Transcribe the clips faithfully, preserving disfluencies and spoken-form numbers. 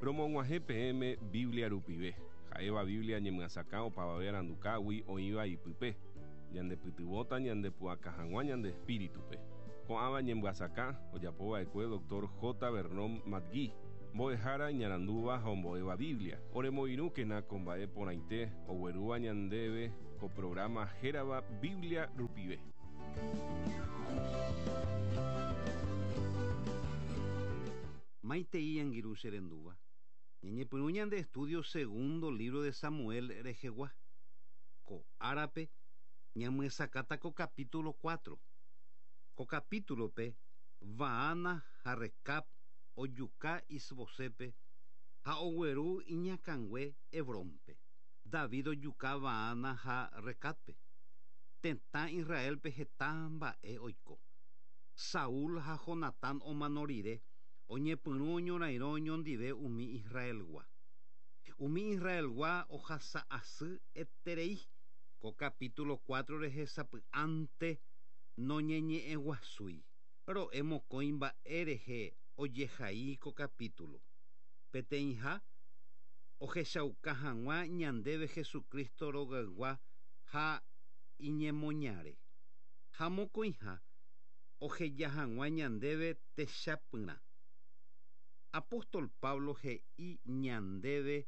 Romog̃uahẽ peẽme Biblia rupive. Ha'éva Biblia ñemyasakã opavave arandukágui oĩva ipype. Ñandepytyvõta ñandepu'aka hag̃ua ñande espíritupe. Ko'ãva ñemyasakã ojapova'ekue doctor J. Vernon McGee, mbo'ehára iñarandúva ha ombo'éva Biblia. Oremoirũkena ko mba'e porãite oguerúva ñandéve ko programa hérava Biblia rupive. Maitei angirũ che rendúva. Ñañepyrũ ñande estudio segundo libro de Samuel rehegua. Ko árape ñamyesakãta ko capítulo cuatro. Ko capítulo-pe Baana ha Recab ojuka Isbosépe ha ogueru iñakãngue Hebrónpe. David ojuka Baana ha Recabpe. Tetã Israelpe heta mba'e oiko. Saúl ha Jonatán omano rire oñepyrũ oñorairõ oñondive umi Israelgua. Umi Israelgua ohasa asy eterei. Ko capítulo cuatro rehe sapy'ánte noñeñe'ẽguasúi. Ro'e mokõi mba'e rehe ojehai ko capítulo. Peteĩha ohechauka hag̃ua ñandéve Jesucristo rogaygua ha iñemoñare. Ha mokõiha oheja hag̃ua ñandéve techapyrã. Apóstol Pablo he'i ñandéve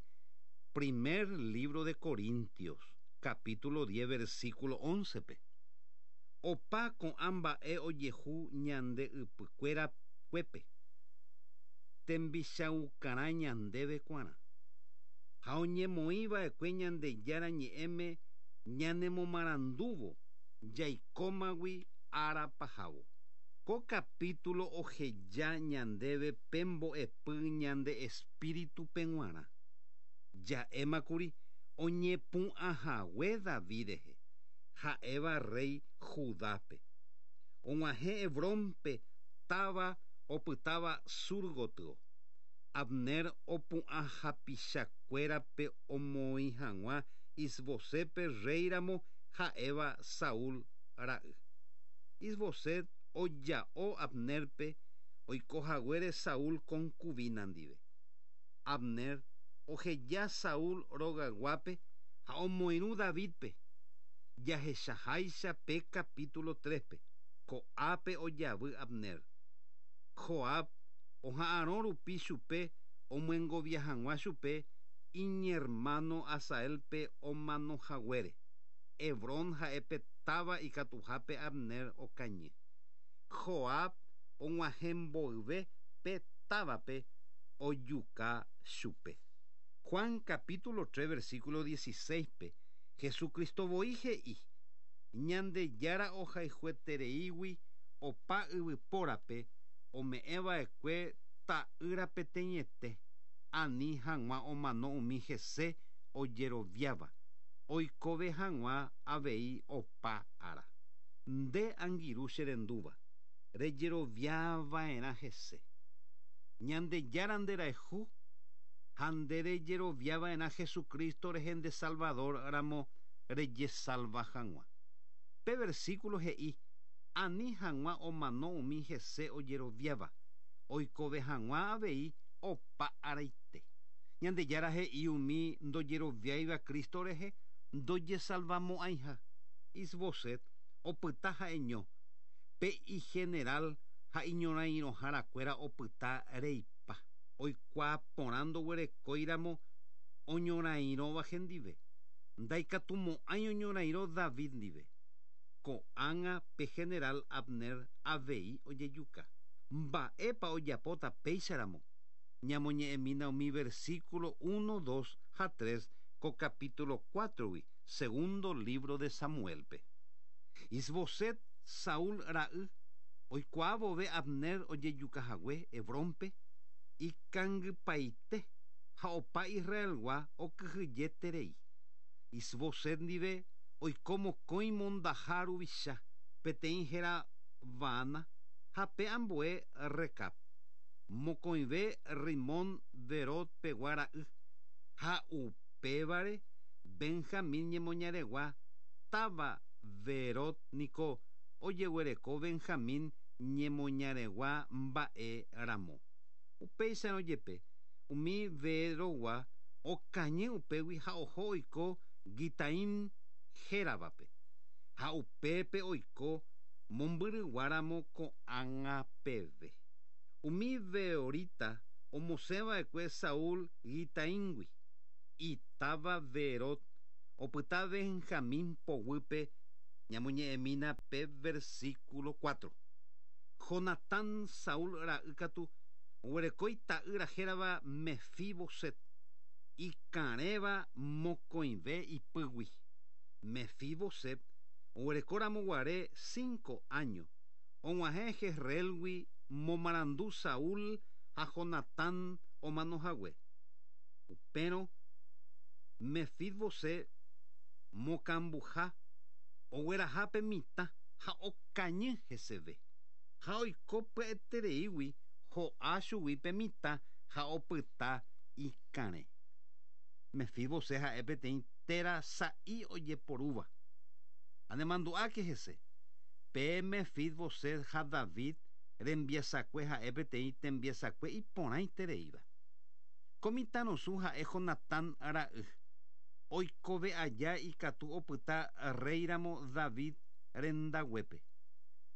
primer libro de Corintios, capítulo diez, versículo once-pe. Opa ko'ã mba'e ojehu ñande ypykuéra kuépe. Tembichaukarã ñandéve kuarã. Ha oñemoĩva'ekue Ñandejára ñe'ẽme ñanemomarandúvo jaikómagui ára pahávo. Ko capítulo oheja ñandéve pe mbo'epy ñande espíritupe g̃uarã. Ja'émakuri oñepu'ãhague David rehe, ha'éva rey Judápe. Og̃uahẽ Hebrónpe táva opytáva sur gotyo. Abner opu'ã hapichakuérape omoĩ hag̃ua Isbosépe reyramo ha'éva Saúl ra'y. Isboset oja'o Abnerpe oikohaguére Saúl concubina ndive. Abner oheja Saúl rogayguápe ha omoirũ Davidpe. Jahechaháicha pe capítulo tres-pe. Ko'ápe ojavy Abner. Joab oha'arõ rupi chupe omyengovia hag̃ua chupe iñermano Asaelpe omanohaguére. Hebrón ha'e pe táva ikatuhápe Abner okañy. Joab og̃uahẽ mboyve pe távape ojuka chupe. Juan capítulo tres versículo dieciséis-pe Jesucristo voi he'i Ñandejára ohayhuetereígui opa yvypórape ome'ẽva'ekue ta'ýra peteĩete ani hag̃ua omano umi hese ojeroviáva oikove hag̃ua avei opa ára. Nde angirũ che rendúva rejeroviava'erã hese. Ñandejára nderayhu ha nde rejeroviava'erã Jesucristo rehe nde Salvador ramo rejesalva hag̃ua. Pe versículo he'i ani hag̃ua omano umi hese ojeroviáva oikove hag̃ua avei opa araite. Ñandejára he'i umi ndojeroviáiva Cristo rehe ndojesalvamo'ãiha. Isboset opyta ha'eño pe igeneral ha iñorairõharakuéra opyta reipa. Oikuaa porã ndoguerekóiramo oñorairõva hendive. Ndaikatumo'ãi oñorairõ David ndive. Ko'ág̃a pe general Abner avei ojejuka. Mba'épa ojapóta péicharamo. Ñamoñe'ẽmína umi versículo uno, dos ha tres ko capítulo cuatro-gui, segundo libro de Samuelpe. Isboset Saúl ra'y oikuaa vove Abner ojejukahague Hebrónpe ikangypaite ha opa Israelgua okyhyjeterei. Isboset ndive oiko mokõi mondaha ruvicha peteĩ héra Baana ha pe ambue Recab. Mokõive Rimón Berot pegua ra'y ha upévare Benjamín ñemoñaregua táva Berot niko ojeguereko Benjamín ñemoñaregua mba'e ramo. Upéicharõ jepe Umi Beerotgua okañy upégui ha oho oiko Gitaim héravape. Ha upépe oiko mombyryguáramo ko'ág̃a peve. Umi Beerotita omosẽva'ekue Saúl Gitaímgui. Itáva Beerot opyta Benjamín poguýpe ñamoñe'ẽmína pe versículo cuatro. Jonatán Saúl ra'y katu oguereko ita'ýra hérava Mefiboset ikarẽva mokõive ipýgui. Mefiboset oguerekóramo guare cinco años og̃uahẽ Jezreelgui momarandu Saúl ha Jonatán omanohague. Upérõ Mefiboset mokambuha oguerahápe mitã ha okañy heseve. Ha oiko pya'etereígui ho'a chuguípe mitã ha opyta ikarẽ. Mefiboset ha'e peteĩ téra sa'i ojeporúva. Anemandu'áke hese. Pe Mefiboset ha David rembiasakue ha'e peteĩ tembiasakue iporãitereíva. Ko mitãrusu ha'e Jonatán ra'y. Oikove aja ikatu opyta réiramo David rendaguépe.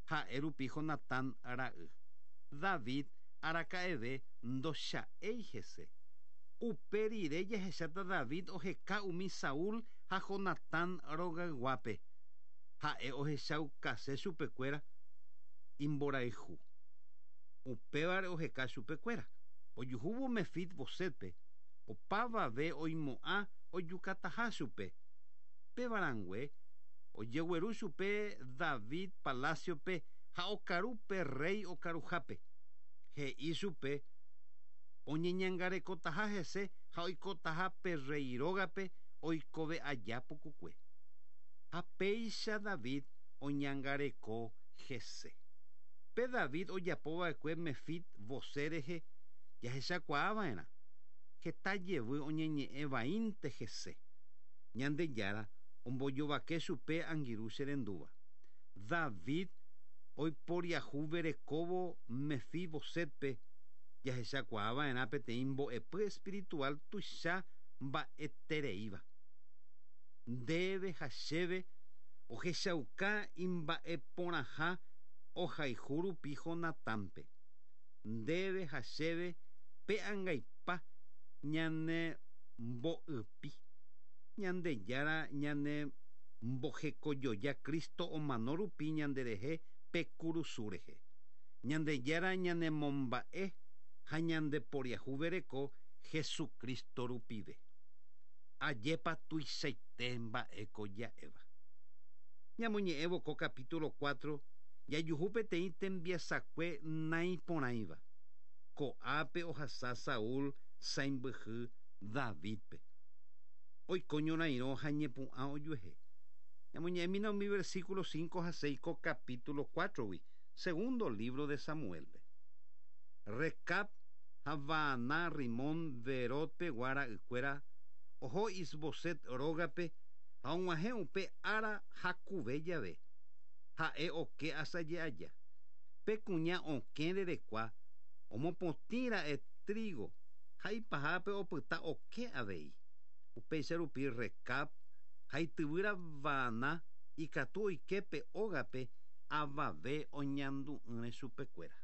Ha'e rupi Jonatán ra'y. David araka'eve ndocha'éi hese. Upe rire jahecháta David oheka umi Saúl ha Jonatán rogayguápe. Ha'e ohechaukase chupekuéra imborayhu. Upévare oheka chupekuéra. Ojuhúvo Mefibosetpe opavave oimo'ã ojukataha chupe. Pévarãngue ojegueru chupe David palaciope ha okaru pe rey okaruhápe. He'i chupe oñeñangarekotaha hese ha oikotaha pe rey rógape oikove aja pukukue. Ha péicha David oñangareko hese. Pe David ojapova'ekue Mefiboset rehe jahechakuaava'erã. Heta jevy oñeñe'ẽvaínte hese. Ñandejára ombojovake chupe angirũ che rendúva. David oiporiahuverekóvo Mefibosetpe jahechakuaava'erã peteĩ mbo'epy espiritual tuicha mba'etereíva. Ndéve ha chéve ohechauka imba'eporãha ohayhu rupi Jonatánpe. Ndéve ha chéve pe angaipa ñane mbo'ypi. Ñandejára ñane mbohekojoja Cristo omano rupi ñanderehe pe kurusu rehe. Ñandejára ñanemomba'e ha ñandeporiahuvereko Jesucristo rupive. Ajépa tuichaite mba'éko ja'éva. Ñamoñe'ẽvo ko capítulo cuatro jajuhu peteĩ tembiasakue naiporãiva. Ko'ápe ohasa Saúl sãimbyhy Davidpe. Oiko ñorairõ ha ñepu'ã ojuehe. Ñamoñe'ẽmína umi versículo cinco ha seis ko capítulo cuatro-gui, segundo libro de Samuelpe. Recab ha Baaná Rimón Beerotpegua ra'ykuéra oho Isboset rógape ha og̃uahẽ upe ára hakuve jave. Ha'e oke asaje aja. Pe kuña okẽ rerekua omopotĩra'e trigo ha ipahápe opyta oke avei. Upéicha rupi Recab ha ityvýra Baaná ikatu oike pe ógape avave oñandu'ỹre chupekuéra.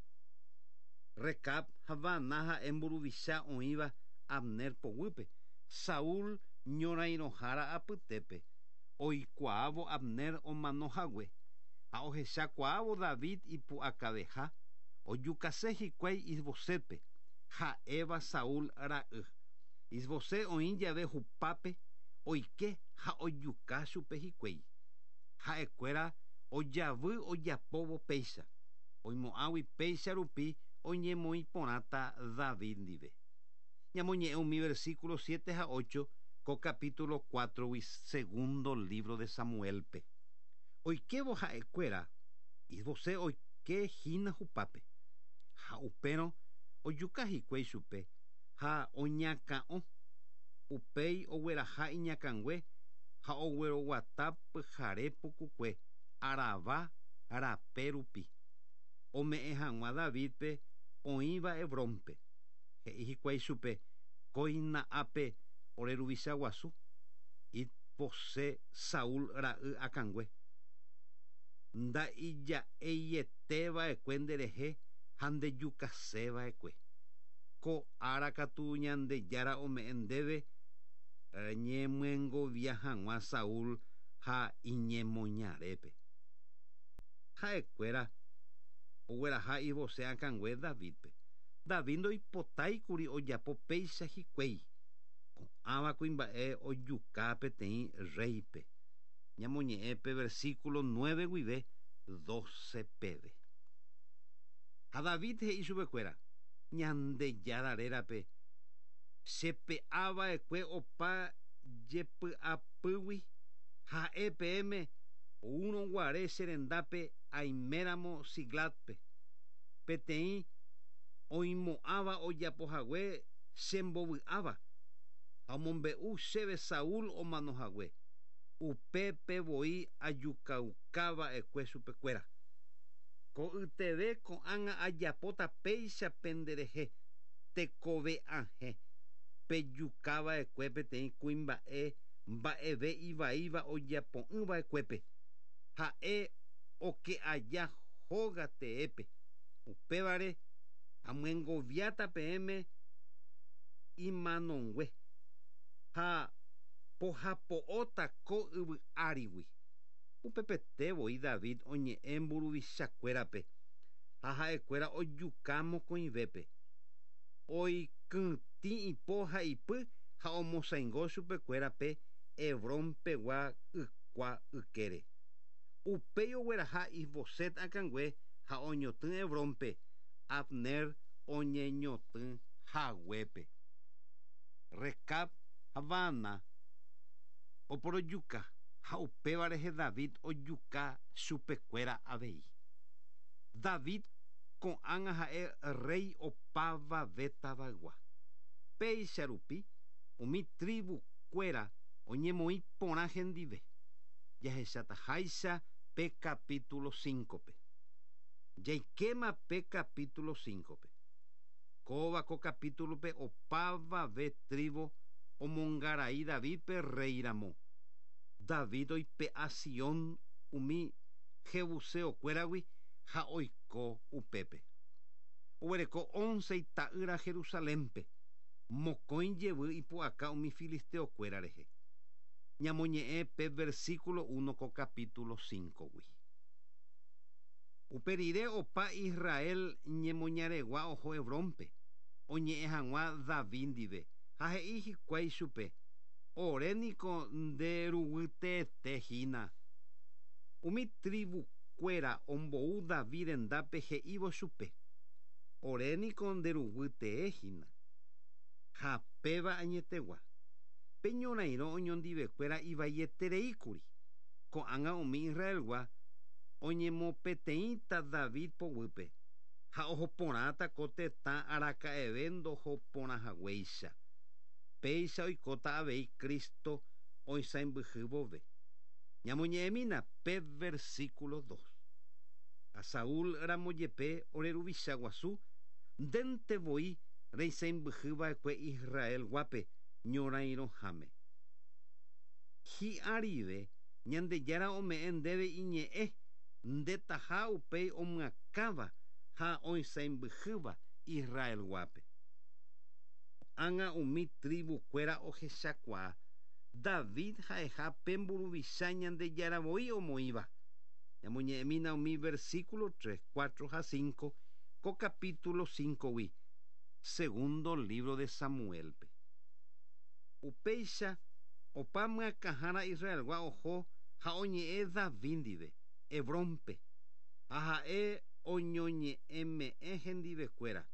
Recab ha Baaná ha'e mburuvicha oĩva Abner poguýpe. Saúl ñorairõhára apytépe oikuaávo Abner omanohague ha ohechakuaávo David ipu'akaveha ojukase hikuái Isbosetpe ha'éva Saúl ra'y. Isboset oĩ jave hupápe oike ha ojuka chupe hikuái. Ha'ekuéra ojavy ojapóvo péicha. Oimo'ãgui péicha rupi oñemoĩ porãta David ndive. Ñamoñe'ẽ umi versículo siete ha ocho ko capítulo cuatro-gui segundo libro de Samuelpe. Oikévo ha'ekuéra Isboset oike hína hupápe. Ha upérõ ojuka hikuái chupe ha oñakã'o. Upéi ogueraha iñakãngue ha ogueroguata pyhare pukukue Arabá rape rupi. Ome'ẽ hag̃ua Davidpe oĩva Hebrónpe. He'i hikuái chupe Kóina ápe ore ruvicha guasu Isboset Saúl ra'y akãngue. Nda'ija'eieteva'ekue nderehe ha ndejukaseva'ekue. Ko ára katu Ñandejára ome'ẽ ndéve ñemyengovia hag̃ua Saúl ha iñemoñarépe. Ha'ekuéra ogueraha Isboset akãngue Davidpe. David ndoipotáikuri ojapo péicha hikuái. Ko'ãva kuimba'e ojuka peteĩ reype. Ñamoñe'ẽ pe versículo nueve guive doce peve. Ha David he'i chupekuéra Ñandejára rérape chepe'ava'ekue opa jepy'apýgui ha'e peẽme oúrõguare che rendápe aiméramo Siclagpe. Peteĩ oimo'ãva ojapohague chembovy'áva ha omombe'u chéve Saúl omanohague. Upépe voi ajukaukava'ekue chupekuéra. Ko'yteve ko'ág̃a ajapóta péicha penderehe tekove'ãhe pejukava'ekue peteĩ kuimba'e mba'eve ivaíva ojapo'ỹva'ekuépe. Ha'e oke aja hóga teépe. Upévare amyengoviáta peẽme imanongue ha pohapo'óta ko yvy árigui. Upepete voi David oñe'ẽ mburuvichakuérape ha ha'ekuéra ojuka mokõivépe. Oikytĩ ipo ha ipy ha omosãingo chupekuérape Hebrón pegua ykua ykére. Upéi ogueraha Isboset akãngue ha oñotỹ Hebrónpe Abner oñeñotỹ haguépe. Recab ha Baana oporojuka ha upéva rehe David ojuka chupekuéra avei. David ko'ág̃a ha'e rey opavave tavaygua. Péicha rupi umi tribukuéra oñemoĩ porã hendive. Jahechataháicha pe capítulo cinco-pe. Jaikéma pe capítulo cinco-pe. Kóva ko capítulo-pe opavave tribu omongarai Davidpe rey ramo. David oipe'a Sion umi jebuseokuéragui ha oiko upépe. Oguereko once ita'ýra Jerusalénpe. Mokõi jevy ipu'aka umi filisteokuéra rehe. Ñamoñe'ẽ pe versículo uno ko capítulo cinco-gui. Upe rire opa Israel ñemoñaregua oho Hebrónpe oñe'ẽ hag̃ua David ndive ha he'i hikuái chupe ore niko nde ruguyteete hína. Umi tribukuéra ombou David rendápe he'ívo chupe ore niko nde ruguytee hína. Ha péva añetegua. Pe ñorairõ oñondivekuéra ivaietereíkuri. Ko'ág̃a umi Israelgua oñemopeteĩta David poguýpe ha ohoporãta ko tetã araka'eve ndohoporãhaguéicha. Péicha oikóta avei Cristo oisãmbyhy vove. Ñamoñe'ẽmína pe versículo dos. A Saúl ramojepe ore ruvicha guasu ndénte voi reisãmbyhyva'ekue Israel guápe ñorairõháme. Hi'arive Ñandejára ome'ẽ ndéve iñe'ẽ ndetaha upéi omyakãva ha oisãmbyhýva Israel guápe. Ág̃a umi tribukuéra ohechakuaa David ha'eha pe mburuvicha Ñandejára voi omoĩva. Ñamoñe'ẽmína umi versículo tres, cuatro ha cinco ko capítulo cinco-gui segundo libro de Samuelpe. Upéicha opa myakãhára Israelgua oho ha oñe'ẽ David ndive Hebrónpe ha ha'e oñoñe'ẽme'ẽ hendivekuéra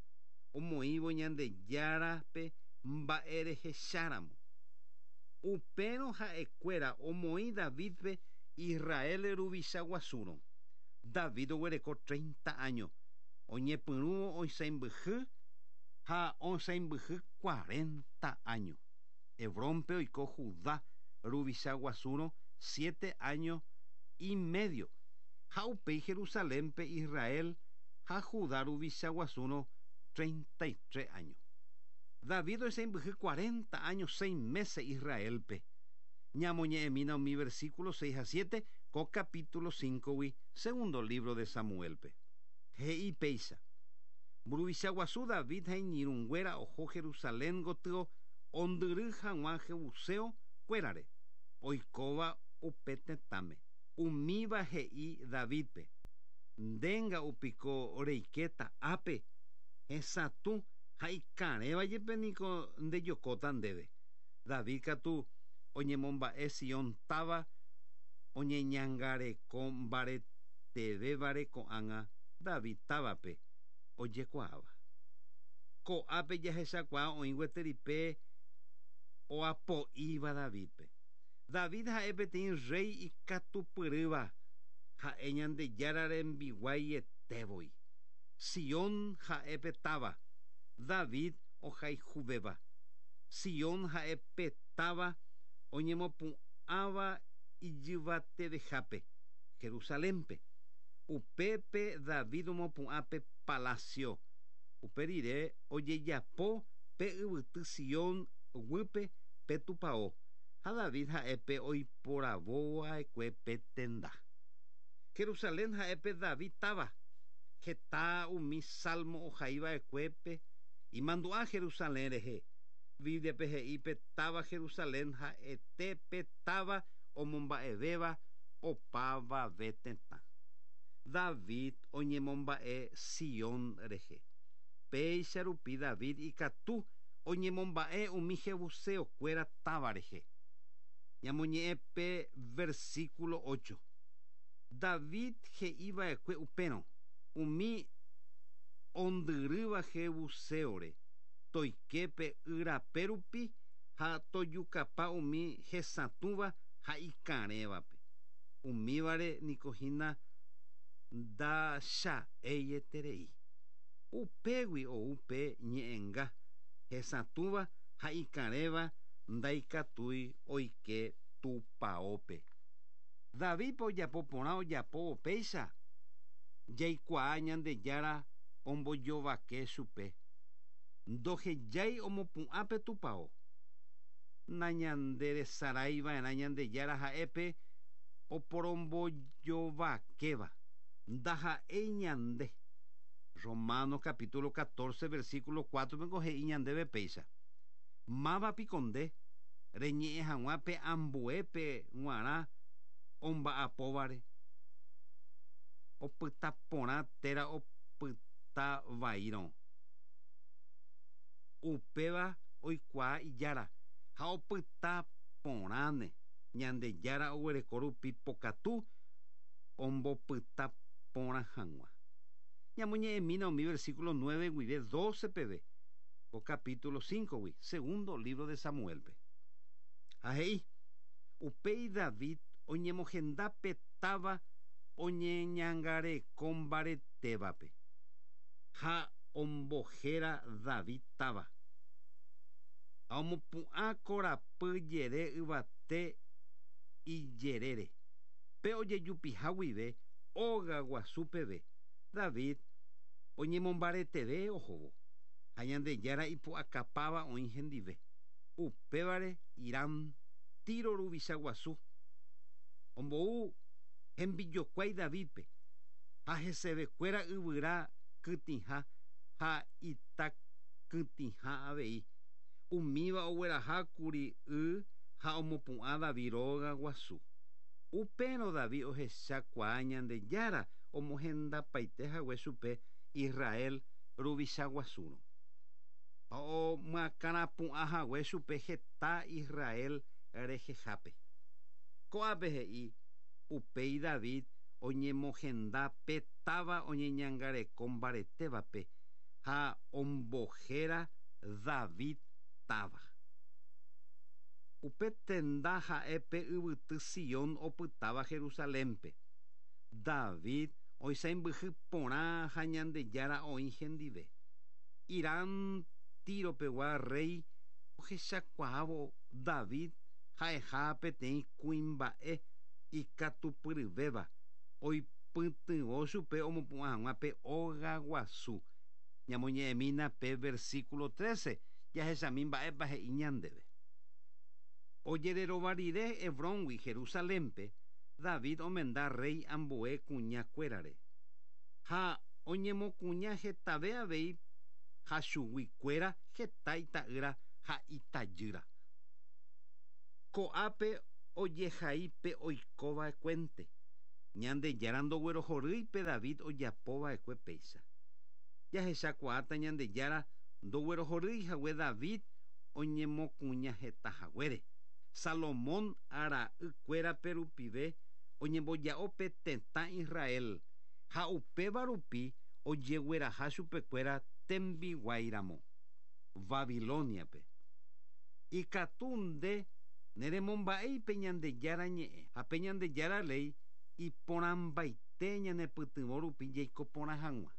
omoĩvo Ñandejárape mba'erehecháramo. Upérõ ha'ekuéra omoĩ Davidpe Israel ruvicha guasúrõ. David oguereko treinta años. Oñepyrũ oisãmbyhy ha oisãmbyhy cuarenta años. Hebrónpe oiko Judá ruvicha guasúrõ siete años y medio. Ha upéi Jerusalénpe Israel ha Judá ruvicha guasúrõ treinta y tres años. David oisãmbyhy cuarenta años seis meses Israelpe. Ñamoñe'ẽmína umi versículo seis ha siete ko capítulo cinco-gui segundo libro de Samuelpe. He'i péicha. Mburuvicha guasu David ha iñirũnguéra oho Jerusalén gotyo ondyry hag̃ua jebuseo kuérare oikóva upe tetãme. Umíva he'i Davidpe. Ndénga upiko reikéta ápe hesatũ ha ikarẽva jepe niko ndejokóta ndéve. David katu oñemomba'e Sion táva oñeñangareko mbaretevévare ko'ág̃a David távape ojekuaáva. Ko'ápe jahechakuaa oĩ gueteripe oapo'íva Davidpe. David ha'e peteĩ rey ikatupyrýva ha'e Ñandejára rembiguaietevoi. Sion ha'e pe táva David ohayhuvéva. Sion ha'e pe táva oñemopu'ãva ijyvatevehápe Jerusalénpe. Upépe David omopu'ã pe palacio. Upe rire ojejapo pe yvyty Sion guýpe pe tupão. Ha David ha'e pe oiporavova'ekue pe tenda. Jerusalén ha'e pe David táva. Heta umi salmo ohaiva'ekuépe imandu'a Jerusalén rehe. Bíbliape he'i pe táva Jerusalén ha'ete pe táva omomba'evéva opavave tetã. David oñemomba'e Sion rehe. Péicha rupi David ikatu oñemomba'e umi jebuseokuéra táva rehe. Ñamoñe'ẽ pe versículo ocho. David he'iva'ekue upérõ umi ondyrýva jebuseore toike pe yrape rupi ha tojukapa umi hesatũva ha ikarẽvape. Umívare niko hína ndacha'eieterei. Upégui ou pe ñe'ẽnga hesatũva ha ikarẽva ndaikatúi oike tupãópe. Davidpe ojapo porã ojapo upéicha jaikuaa Ñandejára ombojovake chupe. Ndohejái omopu'ã pe tupão. Nañanderesaraiva'erã Ñandejára ha'épe oporombojovakéva. Ndaha'éi ñande. Romanos capítulo catorce versículo cuatro pengo he'i ñandéve péicha. Máva piko nde reñe'ẽ hag̃ua pe ambuépe g̃uarã omba'apóvare. Opyta porã térã opyta vaírõ. Upéva oikuaa ijára ha opyta porãne Ñandejára oguereko rupi pokatu ombopyta porã hag̃ua. Ñamoñe'ẽmína umi versículo nueve guive doce peve ko capítulo cinco-gui segundo libro de Samuelpe. Ha he'i upéi David oñemohenda pe táva oñeñangareko mbaretévape ha ombohéra David táva. Ha omopu'ã korapy jere yvate ijerére. Pe ojejupiha guive óga guasu peve. David oñemombareteve ohóvo ha Ñandejára ipu'akapáva oĩ hendive. Upévare Hiram Tiro ruvicha guasu ombou hembijokuái Davidpe ha hesevekuéra yvyra kytĩha ha itakytĩha avei. Umíva oguerahákuri y ha omopu'ã David róga guasu. Upérõ David ohechakuaa Ñandejára omohendapaite hague chupe Israel ruvicha guasúrõ. Ha omyakãrapu'ã hague chupe heta Israel rehehápe. Ko'ápe he'i upéi David oñemohenda pe táva oñeñangareko mbaretévape ha ombohéra David táva. Upe tenda ha'e pe yvyty Sion opytáva Jerusalénpe. David oisãmbyhy porã ha Ñandejára oĩ hendive. Hiram Tiropegua rey ohechakuaávo David ha'eha peteĩ kuimba'e ikatupyryvéva oipytyvõ chupe omopu'ã hag̃ua pe óga guasu. Ñamoñe'ẽmína pe versículo trece. Jahechami mba'épa he'i ñandéve. Ojererova rire Hebróngui Jerusalénpe, David omenda rey ambue kuñakuérare. Ha oñemokuña hetave avei ha chuguikuéra heta ita'ýra ha itajýra. Ko'ápe ojehai pe oikova'ekuénte. Ñandejára ndoguerohorýipe David ojapova'ekue péicha. Jahechakuaáta Ñandejára ndoguerohorýi hague David oñemokuña heta haguére. Salomón ra'ykuérape rupive oñemboja'o pe tetã Israel ha upéva rupi ojegueraha chupekuéra tembiguáiramo Babiloniape. Ikatu nde neremomba'éipe Ñandejára ñe'ẽ ha pe Ñandejára léi iporãmbaite ñanepytyvõ rupi jaiko porã hag̃ua.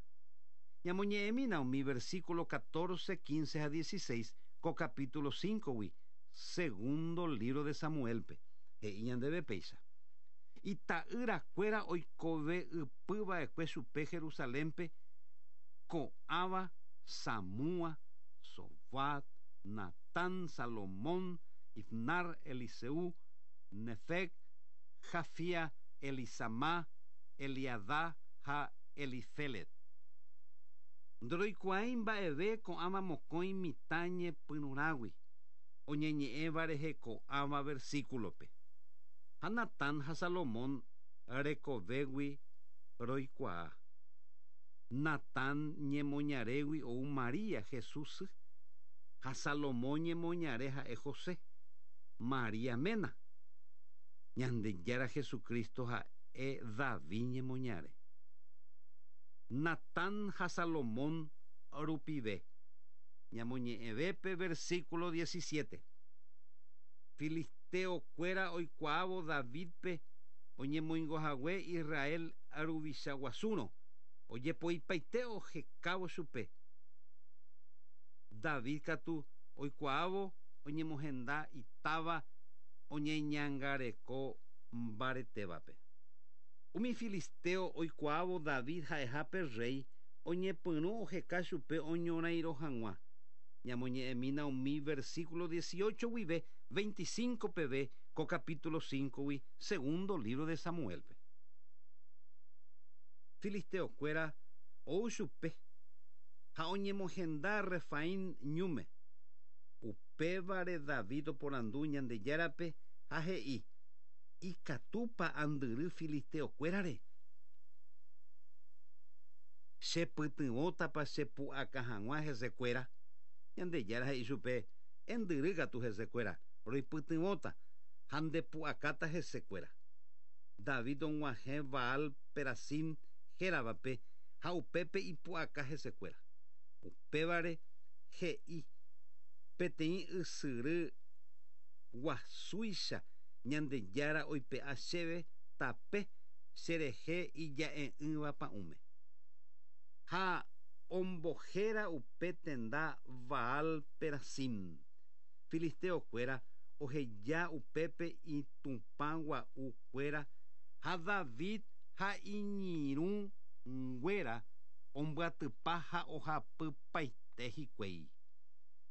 Ñamoñe'ẽmína umi versículo catorce, quince ha dieciséis ko capítulo cinco-gui, segundo libro de Samuelpe. He'i ñandéve péicha. Ita'yrakuéra oikove ypyva'ekue chupe Jerusalénpe ko'ãva Samúa, Sobat, Natán, Salomón, Ibnar, Eliseu, Nefeg, Jafia, Elisama, Eliadá ha Elifelet. Ndoroikuaái mba'eve ko'ãva mokõi mitã ñepyrũrãgui oñeñe'ẽva rehe ko'ãva versículope. Ha Natán ha Salomón rekovégui roikuaa. Natán ñemoñarégui ou María Jesús ha Salomón ñemoñare ha'e José, María ména. Ñandejára Jesucristo ha'e David ñemoñare. Natán ha Salomón rupive. Ñamoñe'ẽvépe versículo diecisiete. Filisteokuéra oikuaávo Davidpe oñemoingohague Israel ruvicha guasúrõ ojepoipaite ohekávo chupe. David katu oikuaávo oñemohenda itáva oñeñangareko mbaretévape. Umi filisteo oikuaávo David ha'ehápe rey oñepyrũ oheka chupe oñorairõ hag̃ua. Ñamoñe'ẽmína umi versículo dieciocho guive veinticinco peve ko capítulo cinco-gui segundo libro de Samuelpe. Filisteokuéra ou chupe ha oñemohenda Refaim ñúme. Upévare David oporandu Ñandejárape ha he'i: Ikatúpa andyry filisteokuérare. Chepytyvõtapa chepu'aka hag̃ua hesekuéra. Ñandejára he'i chupe: Endyry katu hesekuéra, roipytyvõta ha ndepu'akáta hesekuéra. David og̃uahẽ Baal Perasim héravape ha upépe ipu'aka hesekuéra. Upévare he'i peteĩ ysyry guasúicha Ñandejára oipe'a chéve tape cherehe ija'e'ỹva pa'ũme. Ha ombohéra upe tenda Baal Perasim. Filisteokuéra oheja upépe itupã gua'ukuéra ha David ha iñirũnguéra ombyatypa ha ohapypaite hikuái.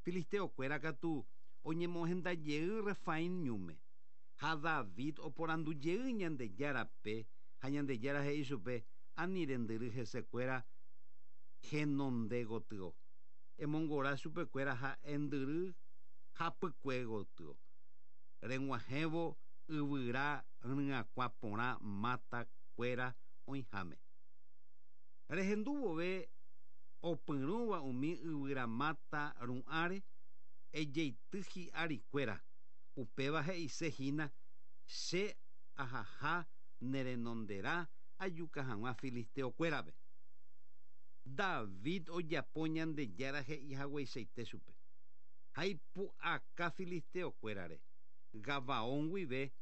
Filisteokuéra katu oñemohendajey Refaim ñúme. Ha David oporandujey Ñandejárape ha Ñandejára he'i chupe: Ani rendyry hesekuéra henonde gotyo. Emongora chupekuéra ha endyry hapykue gotyo. Reg̃uahẽvo yvyra ryakuã porã matakuéra oĩháme. Rehendúvove opyrũva umi yvyra mata ru'ãre ejeity hi'arikuéra. Upéva he'isehína che ahaha nerenonderã ajuka hag̃ua filisteokuérape. David ojapo Ñandejára he'i hagueichaite chupe. Ha ipu'aka filisteokuérare Gabaón guive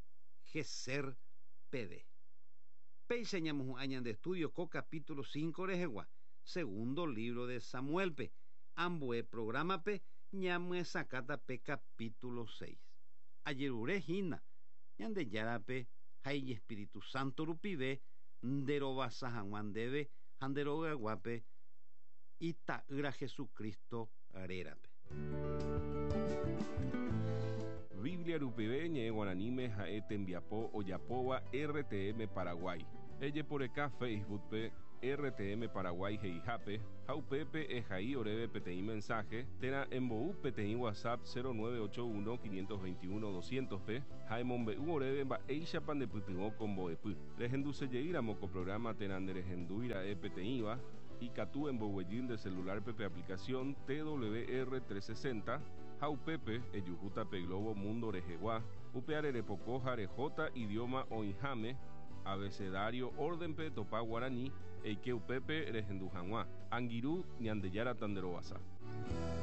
Gezer peve. Péicha ñamohu'ã ñande estudio ko capítulo cinco rehegua, segundo libro de Samuelpe. Ambue programape ñamyesakãta pe capítulo seis. Ajerure hína Ñandejárape ha Ijespíritu Santo rupive nderovasa hag̃ua ndéve ha nderogaguápe ita'ýra Jesucristo rérape. Rupive ñe'ẽ guaraníme ha'e tembiapo ojapóva R T M Paraguay. Ejeporeka Facebook-pe R T M Paraguay he'ihápe ha upépe ehai oréve peteĩ mensaje térã embou peteĩ WhatsApp cero nueve ocho uno quinientos veintiuno doscientos-pe ha emombe'u oréve mba'éichapa ndepytyvõ ko mbo'epy. Rehendusejeýramo ko programa térã nderehendúira'e peteĩva, ikatu emboguejy nde celular-pe pe aplicación T W R trescientos sesenta ha upépe ejuhúta pe globo mundo rehegua, upe repoko ha rehóta idioma oĩháme abecedario orden-pe topa guarani eike upépe rehendu hag̃ua. Angirũ, Ñandejára tanderovasa.